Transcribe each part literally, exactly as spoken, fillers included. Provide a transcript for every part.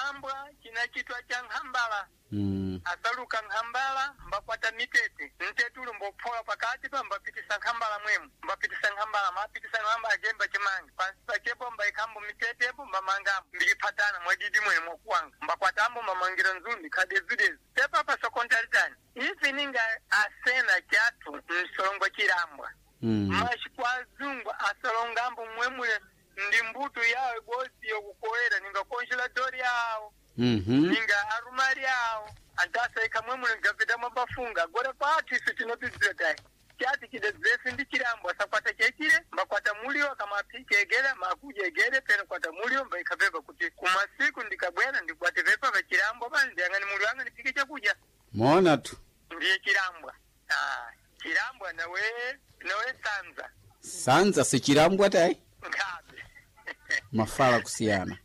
Chilambwa chinachitwa cha nkhambala. Mm. Asaluka nkhambala mbakwata mitete mtete uli mbophola pakati pa mbapitisa nkhambala mwemu mbapitisa nkhambala mapitisa nkhambala jemba chimanga pansi pachepo mbaikhambo mitetepo mbamangambo mbikiphatana mwadidi mwene mwakuwanga mbakwatambo mbamangira nzumbi khadezudezi tepapa sokontalitani ife ninga asena chathu msolongo chilambwa. Mm. Mashi kwa azungu asolongambo mwemule ndi mbuto yawo ibodzi yokukoera ninga congelador yawo Mhm. ninga arumari awo antasaika mwemule ngapita mwabafunga agora kwathu isu tinopidzira tayi chati chidedzesi ndi chilambo asakwata chechile mbakwata mulio kamaphika egere makuja egere peno kwata mulio mbaikha pepa kuti kumasiku ndikabwera ndikwate pepa pa chilambo pani ndiyang'ani mulio anga ndiphike chakudya. Mona tu. Ndiye chilambwa. Ah, chilambwa nawe nawe sanza. Sanza sichilambwa tayi. Nkhabe. Mafala kusiyana.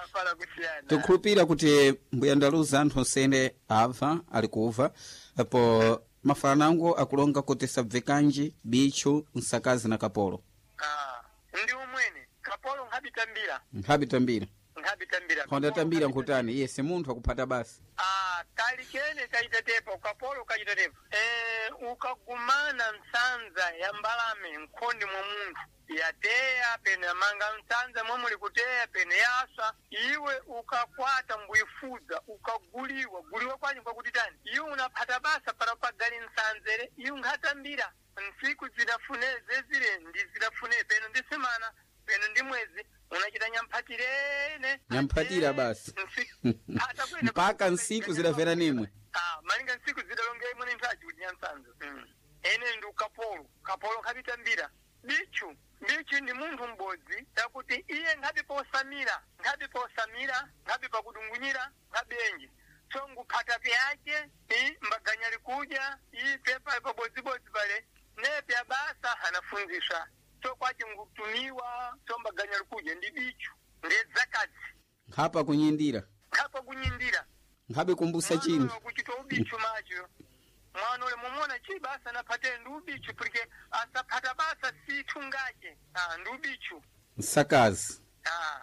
Afala kusiyana. Tikhulupira kuti mbuya ndaluza anthu onsene abva ali kuva apo mafala nango akulonga kuti sabvekanji bichu nsakazi na kapolo. Ah, ndi umwene kapolo nkhabitambira. Nkhabitambira. Nkhabitambira. Khondatambira nkhutani iye si munthu akuphata basi. Ah, kali kene kachitatepo kapolo kachitatepo eh, ukagumana nsanza ya mbalame nkhondi mwa munthu yateya pene yamanga nsanza momuli kuteya pene yaswa iwe ukakwata mbuyifudza ukaguliwa guliwa kwanyu kwakuti tani iwe unaphata basa para pagali nsanzere iwe nkhatambira ntsiku zidafune zezile ndi zidafune peno ndi semana peno ndi mwezi unachita nyamphatirene. Nyamphatira basi. Nsi- Ata kwene- Mpaka nsiku zidafera nimwe. Ah, malinga nsiku zidalonga imwe nthaji kuti nyansanzo. Mm. Ene ndi ukapolo kapolo nkhabitambira bichu bichu ndi munthu m'bodzi takuti iye nkhabi posamira nkhabi posamira nkhabi pakudungunyira nkhabi enji so nguphata pyace i mbaganya likudya i pepa pabodzibodzi pale nepya basa anafunziswa so kwaci ngutumiwa so mbaganya likudya ndi bichu ndedzakadzi. Nkhapa kunyindira. Nkhapa kunyindira. Nkhabe kumbusa chinthu. Kuchita ubichu macho mwana ule mumona chi basa naphate ndi ubichu pulike asaphata basa sithungache. Ah, ndi ubichu. Nsakazi. Ah,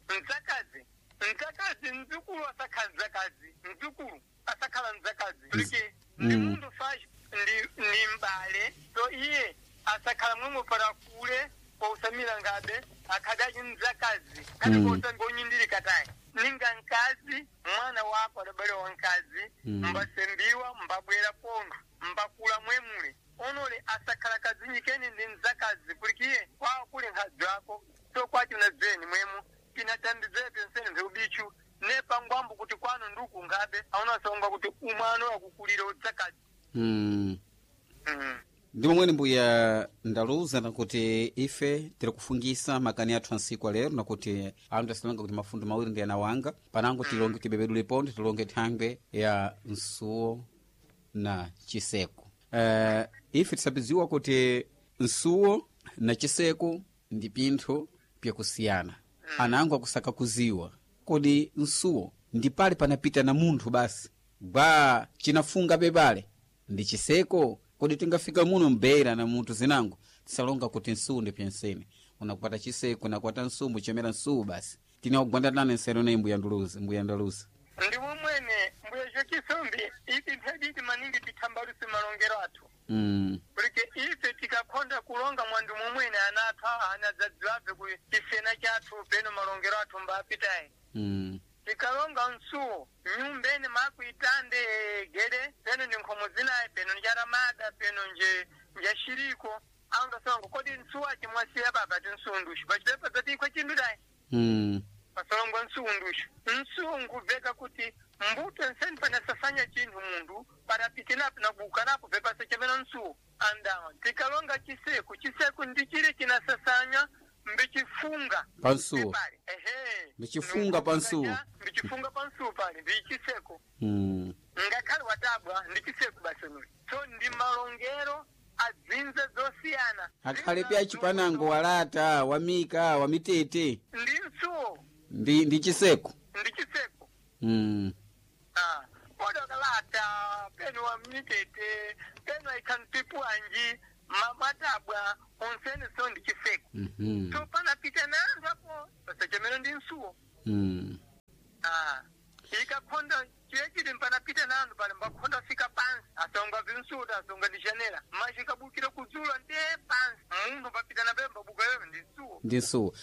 mdzakazi mdzakazi mdzukulu asakhala mdzakazi mdzukulu asakhala mdzakazi pulike ndi Mm. munthu fachi ndi ndi mbale so iye asakhala mwemwe para kule pousamira ngabe akhadachi mdzakazi kati Mm. pousamira onyindirika tayi ninga mkazi mwana wako adabale wa mkazi. Mm. Mbasembiwa mbabwera pontho mbakula mwemule onole asakhala kazinyikeni ndi mdzakazi kulikiye kwawo kuli nkhadzi ako so kwaci unadzeni mwemu tinatambidzepe nsene mphe ubichu nepangwambo kuti kwanu nduku ngabe aunasonga kuti umwana wakukulira udzakazi. Mm. Mm. Ndi momwene mbuya ndaluza nakuti ife tiri kufungisa makani athu ansiku alero nakuti anthu asilonga kuti mafundo mawiri ndi ana wanga panango tilonge tibebedule ponde tilonge thangwe ya nsuwo na chiseko. Uh, ife tisabiziwa kuti nsuwo na chiseko ndi pinthu pyakusiyana anango akusaka kuziwa kodi nsuwo ndi pale panapita na munthu basi gwa chinafunga pepale ndi chiseko kodi tingafika muno mbera na munthu zinango tisalonga kuti nsuwu ndi pyensene unakwata chiseko nakwata nsuwu muchemera nsuwu basi tinakugwandatana nsero ne mbuya nduluzi mbuya ndaluzi. Ndi umwene mbuya zvocisombi ipi mphediti maningi tithambaluse malongero athu mm. kulike ife tikakhonda kulonga mwandu mumwene ana athu awa anadzadziwabve ku chisena chathu peno malongero athu mbapitayi. Mm. Tikalonga msuwo nyumbeni makuitande gede peno ndi nkhomo zinayi peno njaramada peno nje njashiriko angasonga kodi msuwo achimwasiya baba ti msuwu pachipepa zatiikho chindu dayi. Mm. Pasolongwa msuwu ndushu msuwu nkubveka kuti mbuto nseni panasasanya chinthu munthu parapitinapo nakuukanapo vepasachemera msuwo andawa tikalonga chiseku chiseku ndi chile chinasasanya mbichifunga Pansuwo. pale ehe. Mbichifunga pansuwo. Mbichifunga pansuwo pale ndi chiseko. Mm. Ngakhale watabwa ndi chiseko basi nuli so ndi malongero adzinza zosiyana. Akhale pya chipanango walata wamika wamitete. Ndi msuwo. Ndi ndi chiseko. Ndi chiseko. Mm. Ah, podokalata peno wa mitete peno aikhantipu anji matabwa onsene so ndi chiseko. Mm -hmm. So panapita na anthu apo pasachemero ndi msuwo. Mm. Chikakhonda chiyechiti mpanapita nanu pale mbakhonda fika pansi asonga vinsuta asonga ndi janela machikabukira kudzula ndiye pansi munthu papita na pemba buka yoyo ndi msuwo Ndi msuwo.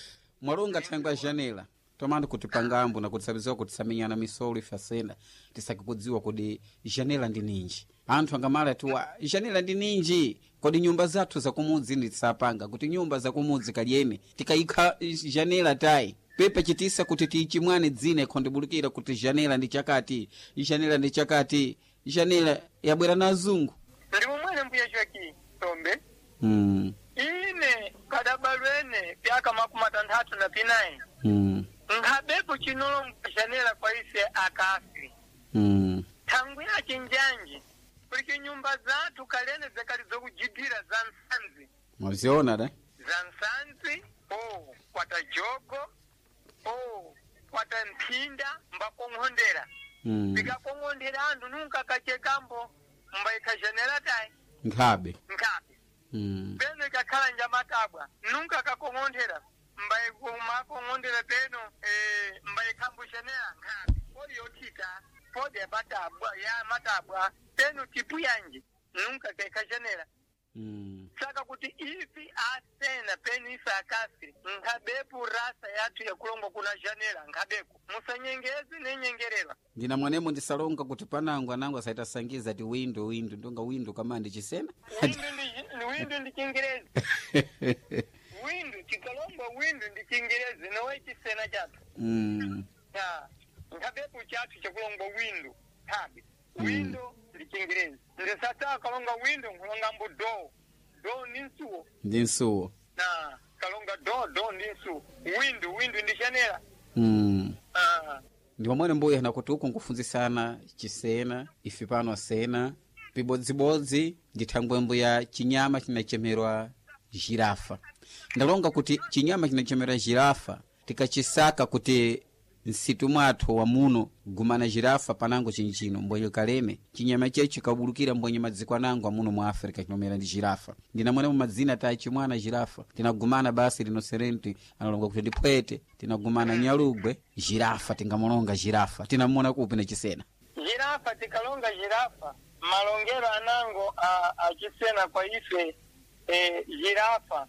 Mwalonga thangwe ya janela tomandi kuti pangambo nakuti sabiziwa kuti samenyana misolo ife asena tisakikudziwa kodi janela ndi ninji anthu angamala tiwa janela ndi ninji kodi nyumba zathu zakumudzi ndi tisapanga kuti nyumba zakumudzi kalyene tikayikha janela tayi pepe chitisa kuti tiichimwane dzina ikhondibulukira kuti janela ndi chakati janela ndi chakati janela yabwera na azungu ndi momwene mbuya chweki tombe mm. ine kadabalwene pyaka makumi atanthatu na pinayi mm. nkhabepo chinolonga janela kwa ise akafi mm. thangwi yace njanji kulike nyumba zathu kalene zakali zokujidira za nsanzi mwaziona da za nsanzi o kwata jogo o kwata mphinda mbakong'ondera mm. pikakong'ondera anthu nunka kachekambo mbayikha janela tayi nkhabe nkhabe mm. peno ikakhala njamatabwa nunka kakong'ondera mbayimakong'ondera peno eh, mbayikhambo janela nkhabe podi yothita podi yapatabwa ya matabwa peno tipu yanji nunka kaikha janela mm. saka kuti ifi asena penu ife akasi nkhabepo rasa yathu yakulongo kuna janela nkhabeko musanyengeze nenyengerera ndina mwanemo ndisalonga kuti panango anango asaitasangiza ti windo windo ndonga windo kama ndi chisena windu ndi windu ndi chingerezi windu chikalongwa windu ndi chingerezi nowe chisena chathu mm. Ya, nkhabepo chathu chakulongwa windu khabe windu ndi chingerezi ndisata kalonga windu nkulongambo do do ndi msuwo ndi msuwo na kalonga do do ndi msuwo windu windu ndi janela mm. ah. ndi pamwene mbuya nakuti uku nkufunzisana chisena ife pano asena pibodzibodzi ndi thangwembo ya chinyama chinachemerwa jirafa ndalonga kuti chinyama chinachemerwa jirafa tikachisaka kuti nsitu mwathu wa muno gumana jirafa panango chinchino mbwenye kaleme chinyama chechi chikabulukira mbwenye madziko anango amuno mu africa chinomera ndi jirafa ndinamwenemo madzina tachimwana jirafa tinagumana basi rinoserenti analonga kuti ndi phwete tinagumana nyalugwe jirafa tingamulonga jirafa tinamona kupi na chisena jirafa tikalonga jirafa malongero anango a, achisena kwa ife e, jirafa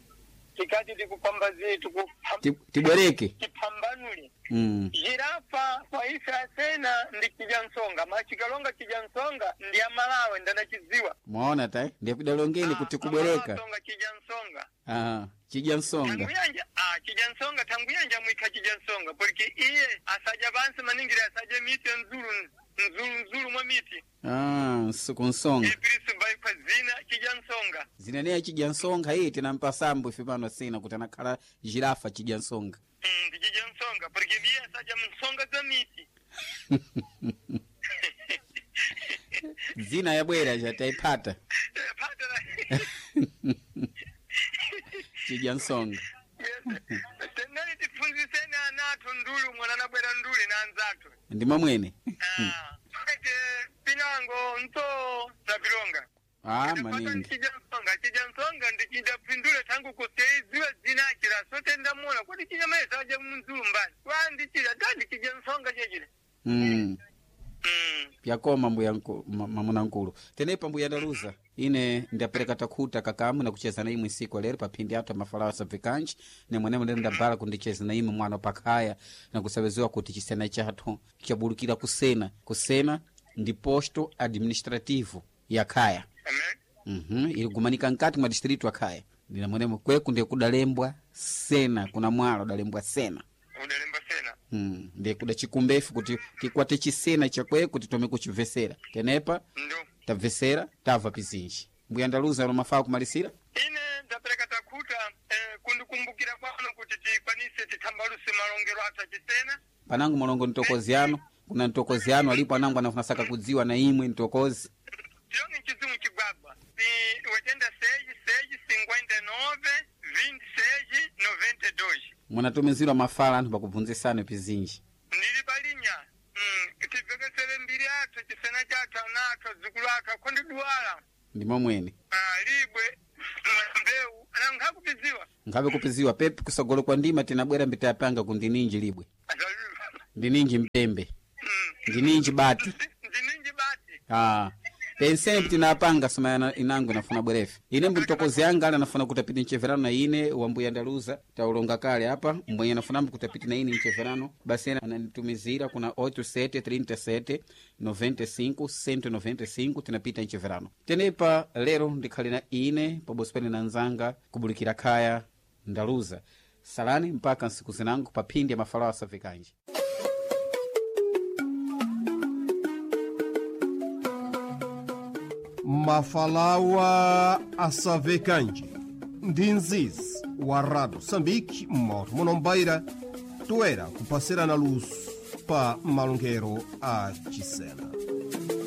tikati tikupambazie tikupam- Ti- tibwereke tipambanule mm. jirafa kwa ife asena ndi chijansonga machikalonga chijansonga ndi amalawe ndanachidziwa mwaona ta ndiyapidalongeni kuti kubwereka songa chijansonga ah, chidya nsonga tanguyanja ah chijansonga tanguyanja mwikha chijansonga poliki iye asaja pansi maningira asaje miti nzulu nzulu nzulu mwa miti ah, nsu- kunsonga ipirisu baikwa zina chijansonga zineneya chidya nsonga iyi tinampasambo ife pano asena kuti anakhala jirafa chidya nsonga Mm, ndi chijansonga porque ndiye asaja msonga za miti dzina yabwera chataipata Eh, pata la chidya nsonga Yes. Tenani tifunziseni ana athu ndulu mwana anabwera nduli na anzathu ndi mamwene Ah, ete pinango nto napilonga ah, maningi chijansonga chijansonga ndichidapindule tangu kuseiziwe dzina achira sote ndamona kuti chinyamaisa aja munzulu mbani wandichira tandi chijansonga chechile mm. Mm. pyakoma mbuya nku- ma- mamuna nkulu tenepa mbuya ndaluza ine ndapereka takhuta kakamu nakucheza na imwe siku lero paphindi athu amafalawo asabvekanji nemwenemo ndene ndabala kundicheza na imwe mwana pakhaya nakusaweziwa kuti chisena chathu chabulukira kusena kusena ndi posto administrativo ya khaya Amen. mm iligumanika nkati mwa distritu akhaya ndinamwenemo kweku ndiye kudalembwa sena kuna mwalo udalembwa sena Udalemba sena. Mm, ndiye kuda chikumbefu kuti tikwate chisena chakweku titome kuchibvesera tenepa Ndo. tabvesera tabva pizinji mbuya ndaluza ano mafaa kumalisira Ine ndapereka takhuta eh, kundikumbukira kwano kuti tikwanise tithambaluse malongero athu achisena panango malongo ntokozi ano kuna ntokozi ano alipo anango anafunasaka kudziwa na imwe ntokozi tiyonge mchidzimu chigwagwa si wetenda seji seji cinquenta e nove vinte seji noventa e dois munatumizirwa mafala anthu pakubvunzisana pizinji ndili palinya mm, tibvekesere mbiri athu chisena chathu ana athu adzukulu athu akhondiduwala ndi momwene ah, libwe mbewu ana nkhakupiziwa nkhabe kupiziwa pepi kusogolo kwa ndima tinabwera mbitayapanga kundininji libwe ndininji mpembe Mm. Ndininji bati. Ndininji bati. Ah. Pensembe tinapanga soma yana- inango inafuna bwerefe ine mtokozi anga ali anafuna kuti apite mcheverano na ine wambuya ndaluza taulonga kale apa mbwenye anafunambo kuti apite na ine mcheverano basi ena ananitumizira kuna oito sete trinta e sete noventa e cinco cento e noventa e cinco tinapita mcheverano. Tenepa lero ndikhali na ine pabosi pene na nzanga kubulikira khaya ndaluza. Salani mpaka nsiku zinango pa phindi ya mafalawo asavekanji. Mafalawa asavekanji ndi nzizi wa Rado Sambiki mmoto munombaira toera kupasirana luso pa malongero a Cisena.